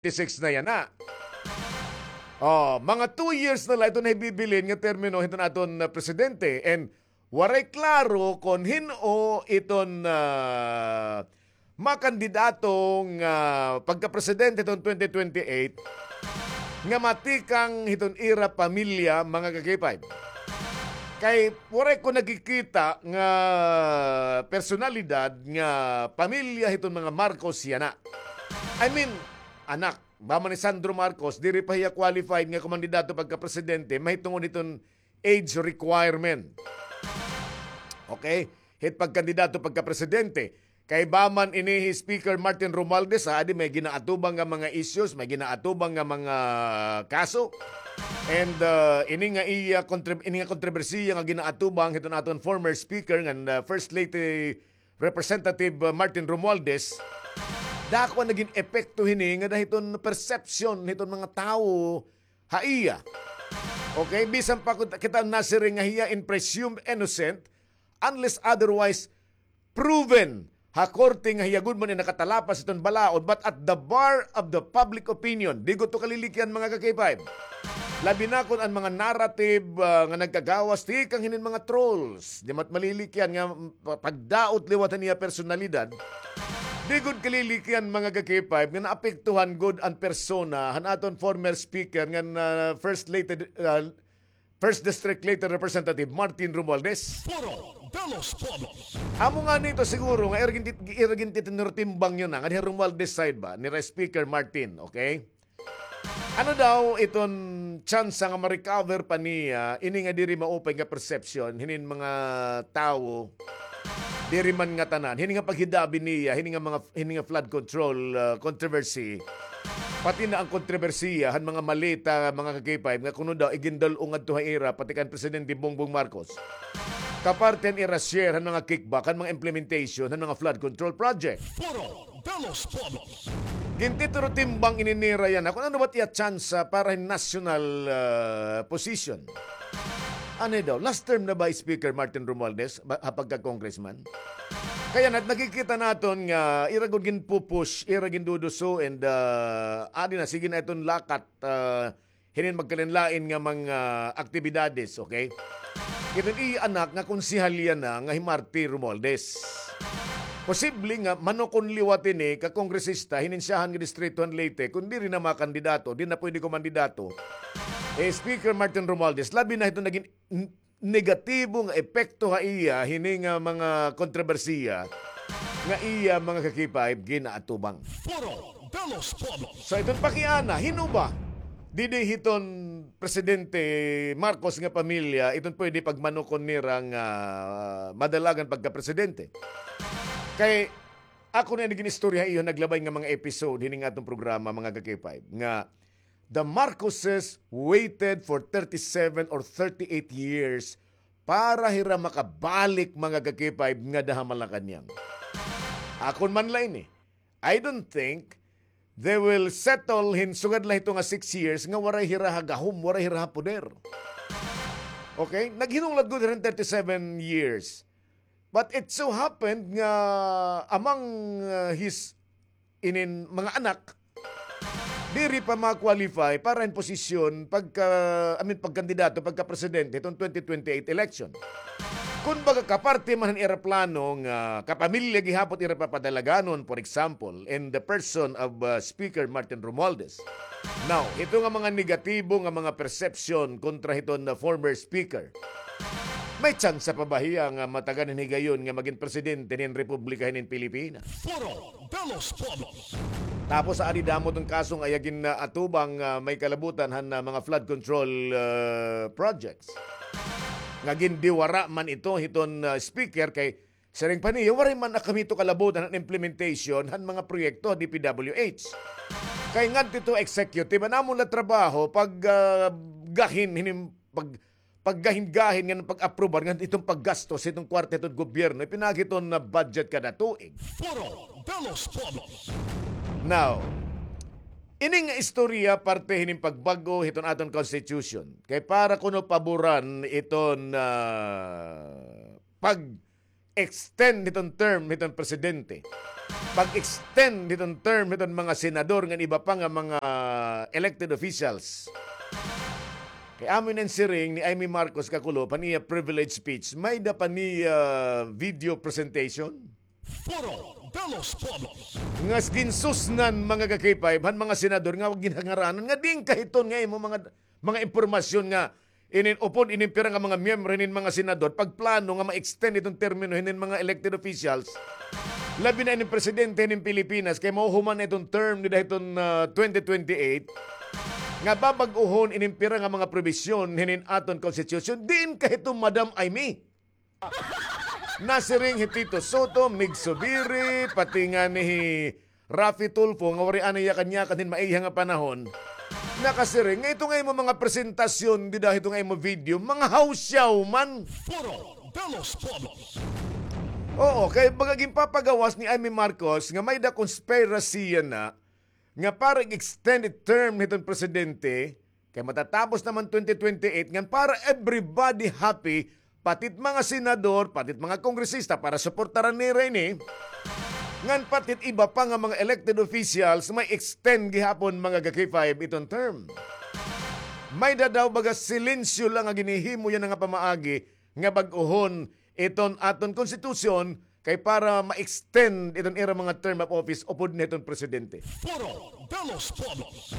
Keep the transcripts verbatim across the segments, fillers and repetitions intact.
twenty-six na yana. Oh, mga two years na la iton nahibibilin nga termino hiton aton, ah, presidente. And waray klaro kon hin-o iton, ah, makandidato nga pagkapresidente hiton twenty twenty-eight nga matikang hiton ira pamilya, mga ka-K five. Kay waray ko nakikita nga personalidad nga pamilya hiton mga Marcos yana. I mean, anak, ba man ni Sandro Marcos, diri pa hiya qualified nga kumandidato pagkapresidente, mahitungod hiton age requirement. Okay? Hit pagkandidato pagkapresidente. Kay ba man ini hi Speaker Martin Romualdez, ha, adi may ginaatubang nga mga issues, may ginaatubang nga mga kaso. And, uh, ini nga iya kontre-, ini nga kontrobersiya nga ginaatubang hiton aton former speaker ngan, uh, First Lady Representative, uh, Martin Romualdez, dako an nagin epekto hini nga hiton perception hiton mga tawo ha iya. Okay, bisan pa kun kita nasiring nga hiya in presumed innocent, unless otherwise proven ha korte nga hiya gud man in nakatalapas hiton balaod, but at the bar of the public opinion, di gud to kalilikyan, mga ka-K five. Labi na kon an mga narrative, ah, nga nagkagawas tikang hinin mga trolls, di man it malilikyan nga, mm, pa-, pagdaot liwat han iya personalidad. Di gud kalilikyan, mga ka-K five, nga naapektuhan gud an persona han aton former speaker ngan, ah, First Lady, ah, First District Leyte Representative Martin Romualdez. Foro de los Pueblos. Amo ngani ito siguro nga ira gintit-, ira gintitinurtimbang niyo na nga diha Romualdez side ba, nira Speaker Martin, okay? Ano daw iton tsansa nga ma-recover pa niya ini nga diri maupay nga perception hinin mga tawo, diri man ngatanan, hini nga paghidabi niya hini nga mga, hini nga flood control, ah, controversy, pati na an kontrobersiya han mga maleta, mga ka-K five, nga kuno daw igindul-ong ngadto ha ira pati kan Presidente Bongbong Marcos, kaparte han ira share han mga kickback han mga implementation han mga flood control project. Foro de los Pueblos. Gintitinurtimbang ini nira yana kon ano ba it iya tsansa para hin national, ah, position. Ano daw, last term na ba hi Speaker Martin Romualdez ba, ha pagka-congressman? Kay yana it nakikita naton nga ira gud ginpupush, ira ginduduso, and, ah, adi na, sige na iton lakat, ah, hinin magkalain-lain nga mga aktibidades, okay? Iton iya anak nga konsehal yana nga hi Marty Romualdez. Posible nga manukon liwat ini ka kongresista hinin syahan nga distrito han Leyte, kon diri na makandidato, di na pwede kumandidato. Eh, Speaker Martin Romualdez, labi na hiton nagin n-, negatibo nga epekto ha iya hini nga mga kontrobersiya nga iya, mga ka-K five, ginaatubang. Foro de los Pueblos. So, iton pakiana, hin-o ba didi hiton Presidente Marcos nga pamilya, iton pwede pagmanukon nira nga, ah, madalagan pagkapresidente? Kay ako na ini gin-istorya ha iyo naglabay nga mga episode hining aton programa, mga ka-K five, nga the Marcoses waited for thirty-seven or thirty-eight years para hira makabalik, mga ka-K five, ngada ha Malacañang. Akon man la ini, I don't think they will settle hin sugad la hito nga six years nga waray hira ha gahom, waray hira ha poder. Okay? Naghinulad gud hira hin thirty-seven years. But it so happened nga among, uh, his inin mga anak, diri pa ma-qualify para hin posisyon pagka, I mean, pagkandidato, pagkapresidente hiton twenty twenty-eight election. Kumbaga, kaparte man han ira plano nga kapamilya gihapon ira papadalaganon, for example, in the person of, uh, Speaker Martin Romualdez. Now, hito nga mga negatibo nga mga perception kontra hiton, uh, former speaker, may tsansa pa ba hiya nga matagan hin higayon nga magin presidente hin Republika hinin Pilipinas? Foro de los Pueblos. Tapos, adi damo iton kaso nga iya gin-atubang, ah, may kalabutan han, ah, mga flood control, ah, projects. Nga gindiwara man ito hiton, ah, speaker kay siring pa niya, waray man na kami ito kalabutan han implementation han mga proyekto ha D P W H. Kay ngadto ito executive, an amon la trabaho pag, ah, gahin hinim-, pag paggahin-gahin ngan pag-aprobar ngan iton paggastos hiton kwarta hiton gobyerno, ipinaagi iton nga budget kada tuig. Foro de los Pueblos. Now, ini nga istorya parte hinin pagbag-o hiton aton constitution. Kay para kuno paboran iton, ah, pag-extend hiton term hiton presidente. pag-extend hiton term hiton mga senador ngan iba pa nga mga elected officials. Kay amo ini an siring ni Imee Marcos kakulop han iya privilege speech, may-ada pa niya video presentation. Foro de los Pueblos. Nga ginsusnan, mga ka-K five, han mga senador nga ginhangaranan nga diin kahiton nga imo mga, mga impormasyon nga inin upod inin pira nga mga miyembro hinin mga senador pagplano nga ma-extend iton termino hinin mga elected officials. Labi na inin presidente hinin Pilipinas kay mahuhuman na iton term dida hiton, ah, twenty twenty-eight nga babag-ohon inin pira nga mga probisyon hinin aton constitution. Diin kahiton, Madam Imee? Nasiring hi Tito Sotto, Mig Zubiri, pati ngani hi Raffy Tulfo nga waray anay yakan-yakan hin maiha nga panahon. Nakasiring nga ito nga imo mga presentasyon dida hito nga imo video, mga hawsyaw man. Foro de los Pueblos. Oo, kay baga ginpapagawas ni Imee Marcos nga may-ada conspiracy yana nga para i-extend it term hiton presidente, kay matatapos naman twenty twenty-eight, ngan para everybody happy, pati it mga senador, pati it mga kongresista, para suportaran nira ini. Ngan pati it iba pa nga mga elected officials, may extend gihapon, mga ka-K five, iton term. May-ada daw baga silensyo lang nga ginhihimo yana nga pamaagi nga bag-ohon iton aton konstitusyon kay para ma-extend iton ira mga term of office upod na hiton presidente. Foro de los Pueblos.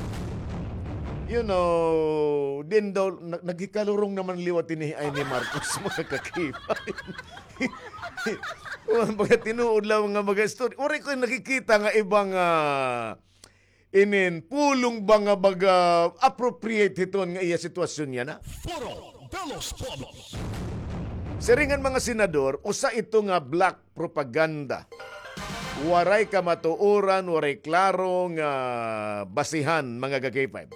You know, diin daw, nag-, naghikalurong naman liwat ini hi Imee Marcos, mga ka-K five. Baga tinuod lang nga mga story. Waray ko nakikita nga ibang, ah, inin pulong ba nga baga appropriate hiton nga iya sitwasyon yana. Foro de los Pueblos. Siring han mga senador, usa ito nga black propaganda. Waray kamatuoran, waray klaro nga basihan, mga ka-K five.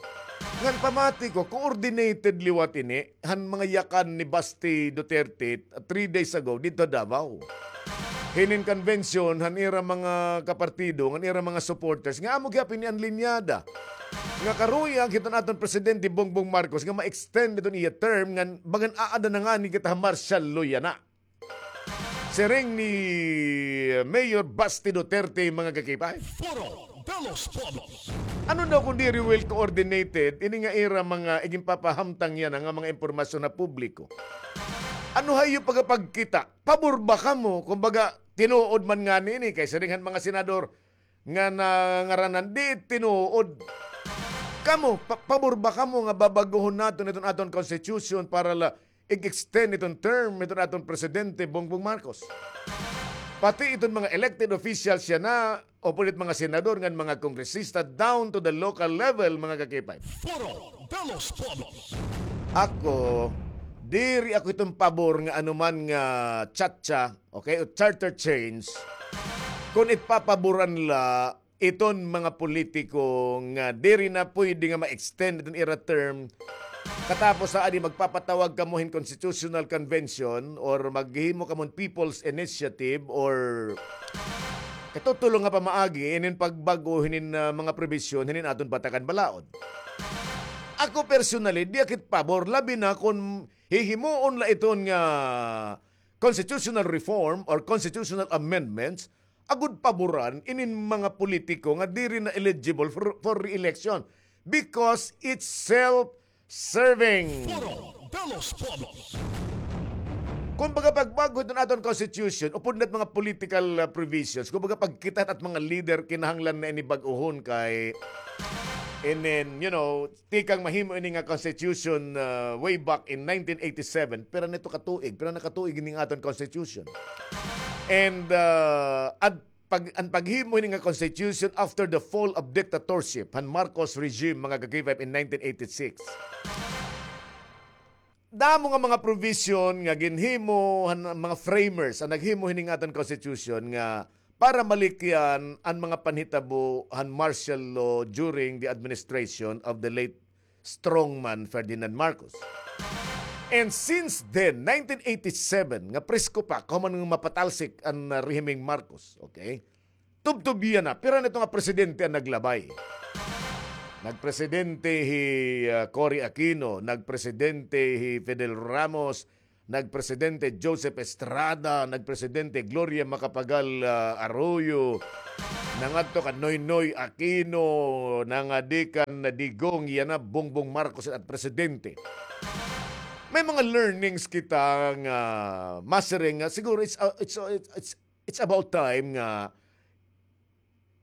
Ngan pamati ko, coordinated liwat ini han mga yakan ni Basti Duterte three days ago didto ha Davao. Hinin convention han ira mga kapartido, han ira mga supporters, nga amo gihapon ini an linyada. Nga karuyag hiton aton Presidente Bongbong Marcos nga ma-extend iton iya term, ngan bagan aada na ngani kita ha martial law yana. Siring ni Mayor Basti Duterte, mga ka-K five. Foro de los Pueblos. Ano daw kon diri well coordinated ini nga ira mga iginpapahamtang yana nga mga impormasyon ha publiko? Ano hayo pagapagkita? Pabor ba kamo? Kumbaga, tinuod man ngani ini kay siring han mga senador nga nangaranan, di tinuod. Kamo, pa-, pabor ba kamo nga babaguhon naton iton aton constitution para la ig-extend iton term iton aton Presidente Bongbong Marcos? Pati iton mga elected officials yana, upod it mga senador ngan mga kongresista down to the local level, mga ka-K five. Foro de los Pueblos. Ako, diri ako iton pabor nga anuman nga tsatsa, okay, o charter change, kon it papaboran la iton mga politiko nga diri na pwede nga ma-extend iton ira term. Katapos ha adi magpapatawag kamo hin constitutional convention or maghimo kamo hin people's initiative or katutulong nga pamaagi inin pagbag-o hinin, ah, mga probisyon hinin aton Batakan Balaod. Ako personally, di ako it pabor, labi na kon hihimuon la iton nga constitutional reform or constitutional amendments, agod paboran inin mga politiko nga diri na eligible for, for re-election because it's self-serving. Foro de los Pueblos. Kumbaga, pagbag-o hiton aton constitution, upod na it mga political, uh, provisions, kumbaga, pagkita it mga leader, kinahanglan na ini bag-ohon kay, and then, you know, tikang mahimo ini nga constitution, uh, way back in nineteen eighty-seven, pira na ito ka tuig, pira na ka tuig ini nga aton constitution. And, uh, at pag, an paghimo hini nga constitution after the fall of dictatorship han Marcos regime, mga ka-K five, in nineteen eighty-six. Damo nga mga provision nga ginhimo han mga framers, an naghimo hini nga aton constitution nga para malikyan an mga panhitabo han martial law during the administration of the late strongman Ferdinand Marcos. And since then, nineteen eighty-seven, nga presko pa, kahuman nga mapatalsik an, uh, rehimeng Marcos, okay? Tubtob yana, pira na ito nga presidente an naglabay. Nagpresidente hi, uh, Cory Aquino, nagpresidente hi Fidel Ramos, nagpresidente Joseph Estrada, nagpresidente Gloria Macapagal, ah, Arroyo, nangadto kan Noynoy Aquino, nangadi kan Digong, yana Bongbong Marcos it at presidente. May mga learnings kita nga masiring nga siguro it's, uh, it's, uh, it's, it's about time nga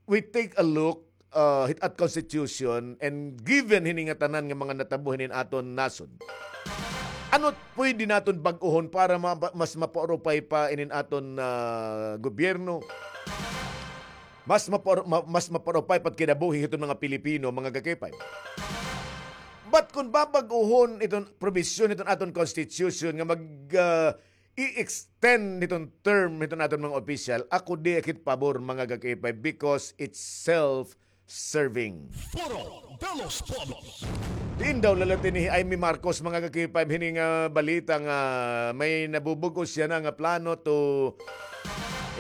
we take a look, uh, hit at constitution, and given hini nga tanan nga mga natabo hinin aton nasod, ano pwede naton bag-ohon para ma-, mas mapaurupay pa inin aton, ah, gobyerno? Mas mapaur-, ma-, mas mapaurupay pa it kinabuhi hiton mga Pilipino, mga ka-K five. But kung babag-ohon iton probisyon hiton aton constitution nga mag, ah, i-extend hiton term hiton aton mga opisyal, ako di akit pabor, mga ka-K five, because it's self-serving. Foro de los Pueblos. Diin daw lalati ni Imee Marcos, mga ka-K five, hini nga balita nga may nabubug-os yana nga plano to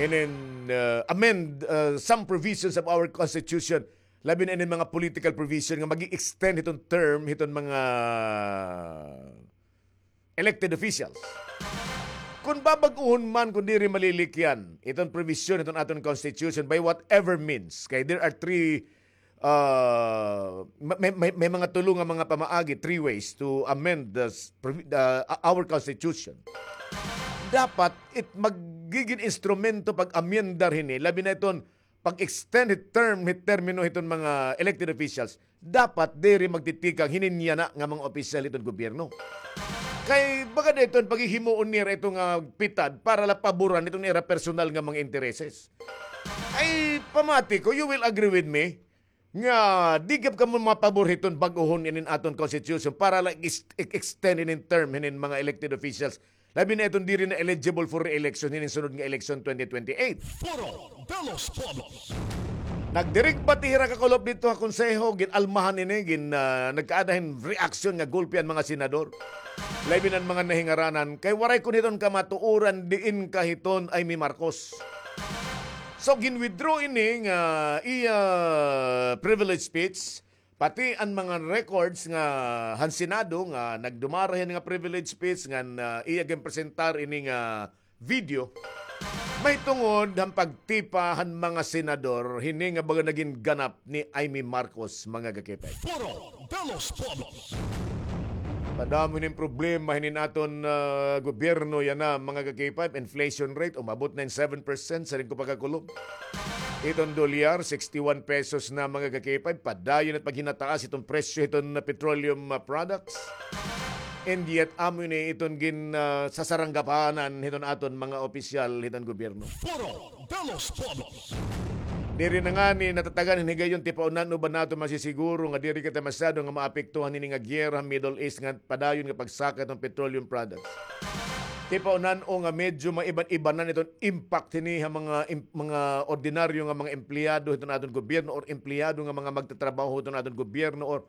inin, uh, amend, uh, some provisions of our constitution, labi na inin mga political provision nga mag-extend hiton term hiton mga elected officials. Kun babag-ohon man, kun diri malilikyan iton provision hiton aton constitution by whatever means, kay there are three, uh, may, may, may mga tulo nga mga pamaagi, three ways to amend the s-, provi-, uh, our constitution. Dapat it magigin instrumento pag-amyendar hini, labi na iton pag-extend hit term, hit termino hiton mga elected officials, dapat diri magtitikang hinin yana nga mga opisyal hiton gobyerno. Kay baga dayton paghihimuon nira ito nga pitad para la paboran iton ira personal nga mga intereses. Ay, pamati ko, you will agree with me, nga di gihap kamo mapabor hiton bag-ohon inin aton constitution para la ex-, ex-, extend inin term hinin mga elected officials. Labi na iton diri na eligible for re-election hinin sunod nga election twenty twenty-eight. Foro de los Pueblos. Nagdirig pa ti hira kakulop didto ha konseho, gin-almahan ini, gin, ah, nagkaada hin reaksyon nga gulpi an mga senador. Labi na an mga nahingaranan, kay waray kon hiton kamatuoran diin ka hiton Imee Marcos. So, gin-withdraw ini nga iya privilege speech, pati an mga records nga han Senado nga nagdumara hin nga privilege speech ngan, ah, iya ginpresentar ini nga video, mahitungod han pagtipa han mga senador hini nga baga nagin ganap ni Imee Marcos, mga ka-K five. Foro de los Pueblos. Padamo hinin problema hinin aton, ah, gobyerno yana, mga ka-K five, inflation rate umabot na hin seven percent, siring ko pagkakulop. Iton dolyar, sixty-one pesos na, mga ka-K five, padayon it paghinataas iton presyo hiton petroleum, ah, products. And yet, amo ini iton gin, ah, sasaranggapanan hiton aton mga opisyal hiton gobyerno. Foro de los Pueblos. Diri na ngani natatagan hin higayon, tipaon-an-o ba naton masisiguro nga diri kita masyado nga maapektuhan hini nga giyera ha Middle East nga padayon nga pagsaka hiton petroleum products. Tipaon-an-o nga medyo maiban-ibanan iton impact hini ha mga im-, mga ordinaryo nga mga empleyado hiton aton gobyerno or empleyado nga mga magtatrabaho hiton aton gobyerno or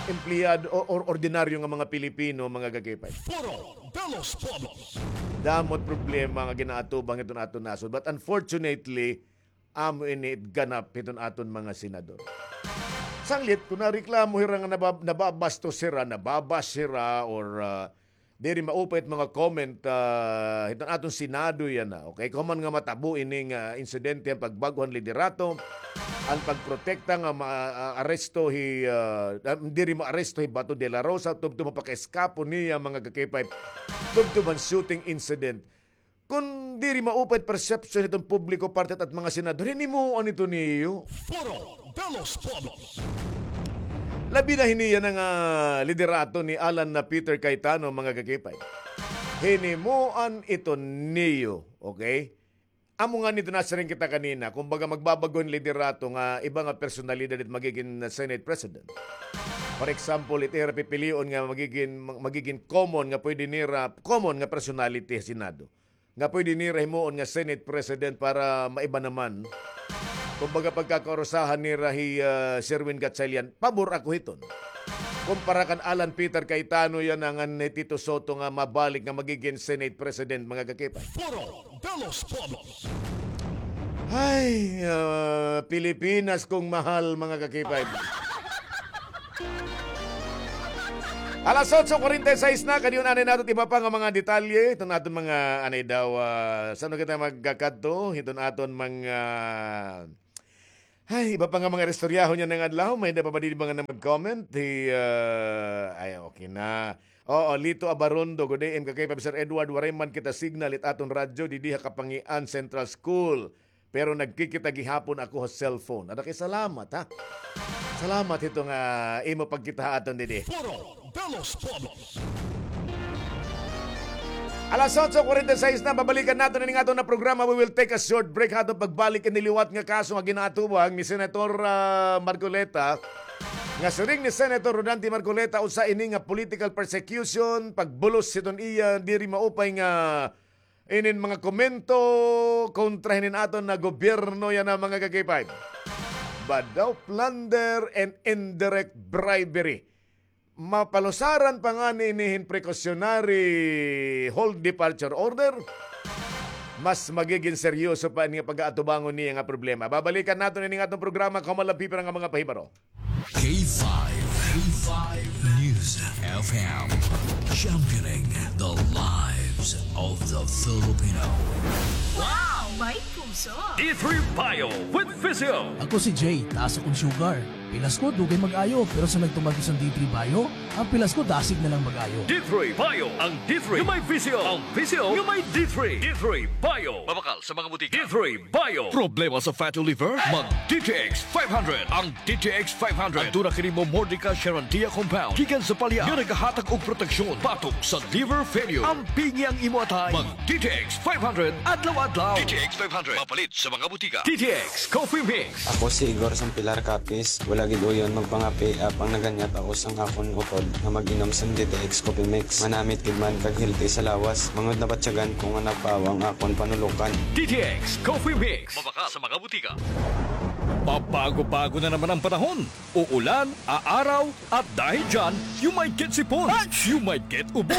empleyado or, or ordinaryo nga mga Pilipino, mga ka-K five. Foro de los Pueblos. Damo it problema nga ginaatubang hiton aton nasod. But unfortunately, amo ini it ganap hiton aton mga senador. Sanglit, kun nareklamo hira nga naba-, nababastos hira, nababash hira, or, ah, diri maupay it mga comment, ah, hiton aton Senado yana, okay? Kon man nga matabo ini nga insidente, an pagbag-o han liderato, an pagprotekta nga ma-, ah, aresto hi, ah, ah, diri maaresto hi Bato de la Rosa, tubtob ha pakaeskapo niya, mga ka-K five, tubtob han shooting incident. Kon diri maupay it perception hiton publiko parte hit at mga senador, hinimuan ito niyo. Foro de los Pueblos. Labi na hini yana nga liderato ni Alan na Peter Cayetano, mga ka-K five. Hinimuan ito niyo, okay? Amo ngani ito nasiring kita kanina, kumbaga magbabag-o hin liderato nga iba nga personalidad it magigin Senate President. For example, it ira pipilion nga magigin, magigin common nga pwede nira, common nga personality ha Senado nga pwede nira himuon nga Senate President para maiba naman. Kumbaga, pagkakaurusahan nira hi, ah, Sherwin Gatchalian, pabor ako hiton. Kumpara kan Alan Peter Cayetano yana ngan hi Tito Sotto nga mabalik nga magigin Senate President, mga ka-K five. Foro de los Pueblos. Ay, ah, Pilipinas kong mahal, mga ka-K five. Alas otso kuwarenta y sais na, kadi anay naton iba pa nga mga detalye hiton aton mga, anay daw, ah, san-o kita magkakadto hiton aton mga, ay, iba pa nga mga istoryahon yana nga adlaw. May-ada pa ba didi mga na mag-comment? Hi, ah, ay, okay na. Oo, Lito Abarondo, good A M ka kay Sir Edward, waray man kita signal it aton radyo didi ha Kapangian Central School. Pero nagkikita gihapon ako ha cellphone. Ada kay salamat, ha? Salamat hito nga imo pagkita ha aton didi. Foro de los Pueblos. Alas otso kuwarenta y sais na, babalikan naton ini nga aton nga programa. We will take a short break ha aton pagbalik ini liwat nga kaso nga ginaatubang ni Senator, ah, Marcoleta. Nga siring ni Senator Rodante Marcoleta, usa ini nga political persecution, pagbulos hiton iya diri maupay nga inin mga komento kontra hinin aton nga gobyerno yana, mga ka-K five. Badaw plunder and indirect bribery. Mapalusaran pa ngani ini hin precautionary hold departure order. Mas magigin seryoso pa ini nga pag-aatubangon niya nga problema. Babalikan naton ini nga aton programa, kauman la pipira nga mga pahibaro. K five, K five News F M, championing the lives of the Filipino. Wow! May puso! D three Bio with Physio. Ako si Jay, taas akon sugar. Pilas ko, dugay mag-ayo, pero sa nagtuman ko sa D three Bio, ang pilas ko, dasig na lang mag-ayo. D three Bio, ang D three nga may Physio, ang Physio nga may D three. D three Bio. Mabakal sa mga butika. D three Bio. Problema sa fatty liver? Mag D T X five hundred. Ang D T X five hundred. Aduna kini Momordica charantia compound gikan sa palya nga nagahatag og proteksyon batok sa liver failure. Ampingi ang imo atay. Mag D T X five hundred adlaw-adlaw. D T X five hundred. Mapalit sa mga butika. D T X Coffee Mix. Ako si Igor sang Pilar Capiz. Wala gid uyon magpangape, apang naganyat ako sang akon utod nga mag-inom sang D T X Coffee Mix. Manamit gid man kag healthy sa lawas. Mangud nabatyagan ko nga napawa ang akon panulokan. D T X Coffee Mix. Mabakal sa mga butika. Pabago-bago na naman ang panahon. Uulan, aaraw, at dahil dyan, you might get sipon, you might get ubo,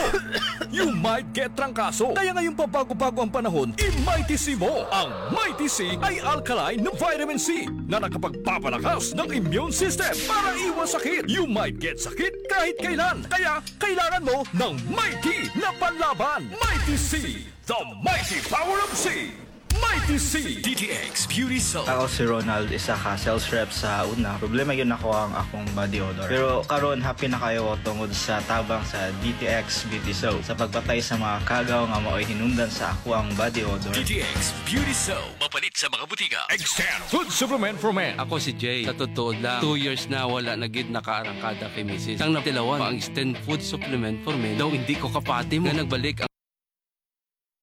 you might get trangkaso. Kaya ngayong pabago-bago ang panahon, i-Mighty C mo. Ang Mighty C ay alkaline na vitamin C na nakapagpapalakas ng immune system para iwas sakit. You might get sakit kahit kailan. Kaya kailangan mo ng Mighty na panlaban. Mighty C, the mighty power of C. Mighty C. D T X Beauty Soap. Ako si Ronald, isa ka sales rep sa una. Problema gyud nako ang akong body odor. Pero karon, happy na kaayo ko tungod sa tabang sa D T X Beauty Soap sa pagpatay sa mga kagaw nga maoy hinungdan sa akoang body odor. D T X Beauty Soap. Mapalit sa mga butika. Extend Food Supplement for Men. Ako si Jay. Sa totoo lang, two years na wala na gid nakaarangkada kay misis. Sang natilawan, ang Extend Food Supplement for Men daw hindi ko kapati mo nga nagbalik ang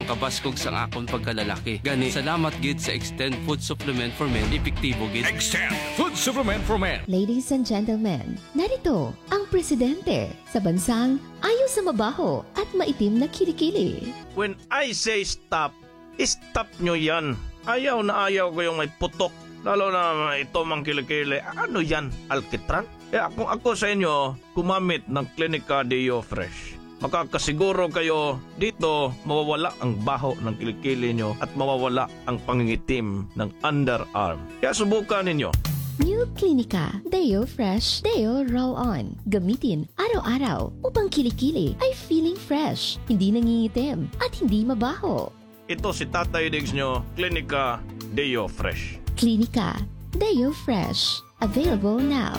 kabaskog sang akon pagkalalaki. Gani, salamat gid sa Extend Food Supplement for Men, epektibo gid. Extend Food Supplement for Men. Ladies and gentlemen, narito ang presidente sa bansang ayaw sa mabaho at maitim na kilikili. When I say stop, stop nyo yan. Ayaw na ayaw ko yung may putok. Lalo na ito mang kilikili. Ano yan? Alkitran? Kaya kung ako sa inyo, gumamit ng Clinica Deo Fresh. Makakasiguro kayo dito mawawala ang baho ng kilikili nyo at mawawala ang pangingitim ng underarm. Kaya subukan ninyo. New Clinica Deo Fresh Deo Roll On. Gamitin araw-araw upang kilikili ay feeling fresh, hindi nangingitim, at hindi mabaho. Ito si Tatay Diggs nyo, Clinica Deo Fresh. Clinica Deo Fresh. Available now.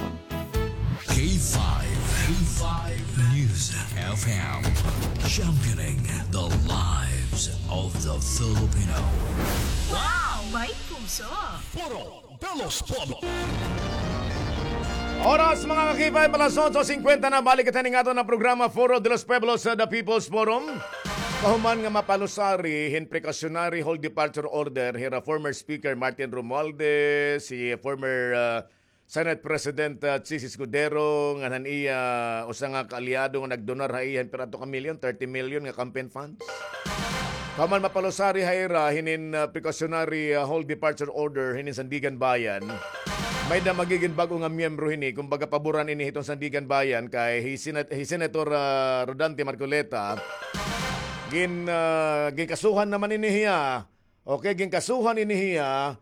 K five, K five News F M. Championing the lives of the Filipino. Wow! May puso! Foro de los Pueblos. Oras, mga ka-K five, alas otso singkwenta na. Balik kita ning aton nga programa, Foro de los Pueblos, sa The People's Forum. Kahuman nga mapalusari hin precautionary hold departure order hira former Speaker Martin Romualdez, hi former, ah, Senate President, ah, Chiz Escudero, ngan han iya usa nga kaalyado nga nagdonar ha iya hin pira to ka milyon, thirty million nga campaign funds. Kahuman mapalusari ha ira hinin, ah, precautionary, ah, hold departure order hinin Sandiganbayan. May-ada magigin bag-o nga miyembro hini, kumbaga paboran ini hiton Sandiganbayan kay hi Senat-, hi Senator, ah, Rodante Marcoleta. Gin-, ah, ginkasuhan naman ini hiya. Okay, ginkasuhan ini hiya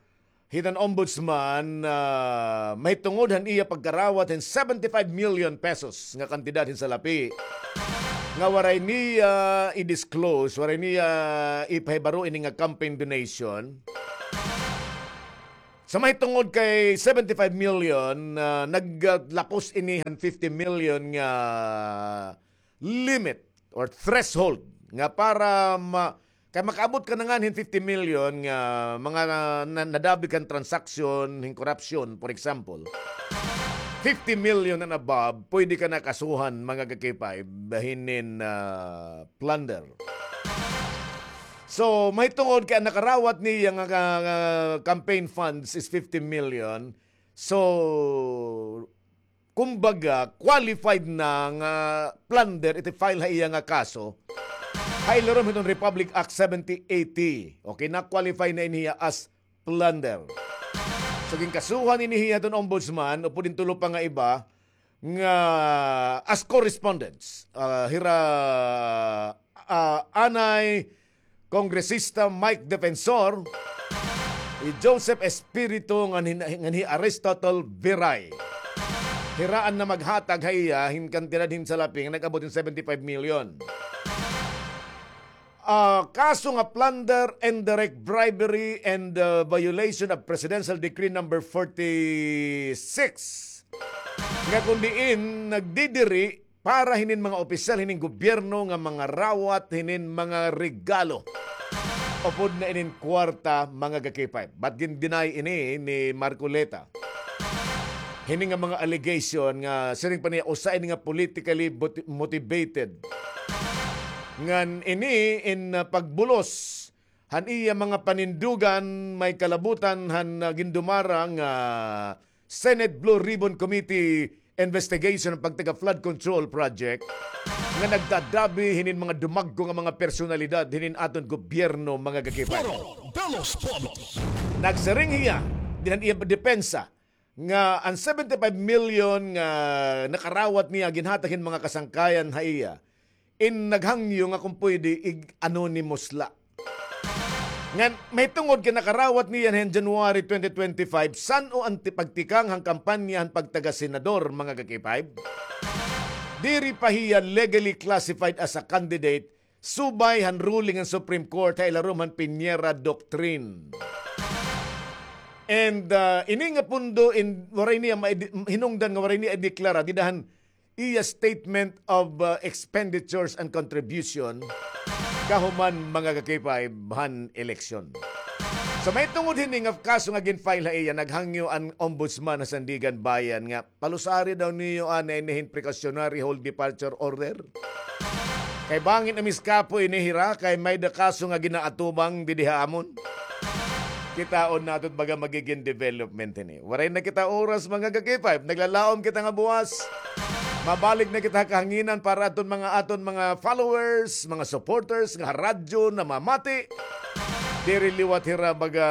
hiton ombudsman, ah, mahitungod han iya pagkarawat hin seventy-five million pesos nga kantidad hin salapi nga waray niya i-disclose, waray niya ipahibaro ini nga campaign donation. Sa mahitungod kay seventy-five million, ah, naglapos ini han fifty million nga limit or threshold nga para ma-, kay makaabot ka na ngani hin fifty million nga mga na-, na-, nadabi kan transaksyon hin korupsyon, for example, fifty million and above, pwede ka na kasuhan, mga ka-K five, hinin, ah, plunder. So, mahitungod kay an nakarawat niya nga, nga, nga campaign funds is fifty million. So, kumbaga, qualified na nga plunder iti file ha iya nga kaso ha ilarom hiton Republic Act seventy eighty. Okay, na-qualify na ini hiya as plunder. So, ginkasuhan ini hiya hiton ombudsman, upod hin tulo pa nga iba, nga as co-respondents, ah, hira, ah, anay Kongresista Mike Defensor, hi Joseph Espiritu ngan hin-, ngan hi Aristotle Viray. Hira an namaghatag ha iya hin kantidad hin salapi nga nag-abot hin seventy-five million. Ah, kaso nga plunder, indirect bribery, and, ah, violation of Presidential Decree number forty-six. Nga kon diin nagdidiri para hinin mga opisyal hinin gobyerno nga mangarawat hinin mga regalo upod na inin kwarta, mga ka-K five. But gin-deny ini ni Marcoleta. Hini nga mga allegation nga siring pa niya usa ini nga politically boti-, motivated. Ngan ini in, ah, pagbulos han iya mga panindugan may kalabutan han, ah, gindumara nga Senate Blue Ribbon Committee investigation han pagtaga flood control project nga nagtadabi hinin mga dumagko nga mga personalidad hinin aton gobyerno, mga ka-K five. Foro de los Pueblos. Nagsiring hiya dinhi han iya depensa nga an seventy-five million nga nakarawat niya ginhatag hin mga kasangkayan ha iya, in naghangyo nga kon pwede ig-anonymous la. Ngan mahitungod kay nakarawat niya hin January twenty twenty-five, san-o an ti-, pagtikang han kampanya han pagtaga-senador, mga ka-K five? Diri pa hiya legally classified as a candidate subay han ruling han Supreme Court ha ilarom han Piñera Doctrine. And, ah, ini nga pondo in, waray niya ma-, hinungdan nga waray niya ideklara dida han iya statement of, ah, expenditures and contribution kahuman, mga ka-K five, han eleksyon. So, mahitungod hini nga kaso nga gin-file ha iya, naghangyo an ombudsman ha Sandiganbayan nga palusari daw niyo anay ini hin precautionary hold departure order. Kay bangin a miskapoy ini hira, kay may-ada kaso nga ginaatubang didi ha amon. Kitaon naton baga magigin development ini. Waray na kita oras, mga ka-K five. Naglalaom kita nga buwas mabalik na kita ha kahanginan para aton mga, aton mga followers, mga supporters nga radyo namamati. Diri liwat hira baga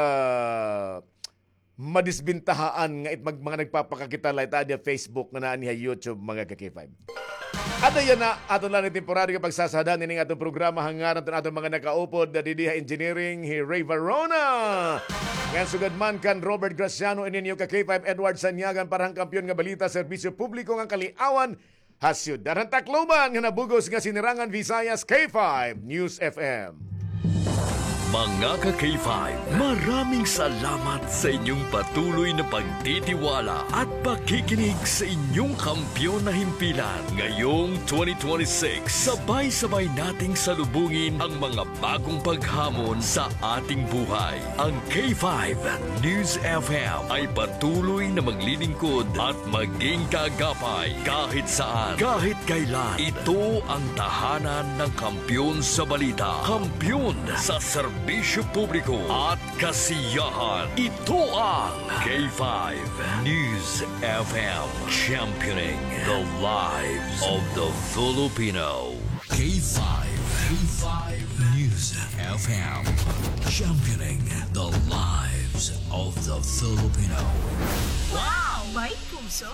madisbintahaan nga it mag-, mga nagpapakakita la it adi ha Facebook nga naa ini ha YouTube, mga ka-K five. Ada yana, aton la ini temporaryo nga pagsasadan ining aton programa ha ngaran ton aton mga nakaupod na didi ha engineering, hi Ray Varona. Ngan sugad man kan Robert Graciano, ini niyo ka-K five Edward Sanyagan para han Kampiyon nga Balita, Serbisyo Publiko ngan Kaliawan ha Syudad han Tacloban nga nabug-os nga Sinirangan Visayas K five News F M. Mga ka-K five, maraming salamat sa inyong patuloy na pagtitiwala at pakikinig sa inyong kampiyon na himpilan. Ngayong twenty twenty-six, sabay-sabay nating salubungin ang mga bagong paghamon sa ating buhay. Ang K five News F M ay patuloy na maglilingkod at maging kaagapay kahit saan, kahit kailan. Ito ang tahanan ng kampiyon sa balita, kampiyon sa serbisyo publiko at kasiyahan. Ito ang K five News F M, championing the lives of the Filipino. K five, K five News F M, championing the lives of the Filipino. Wow! May puso!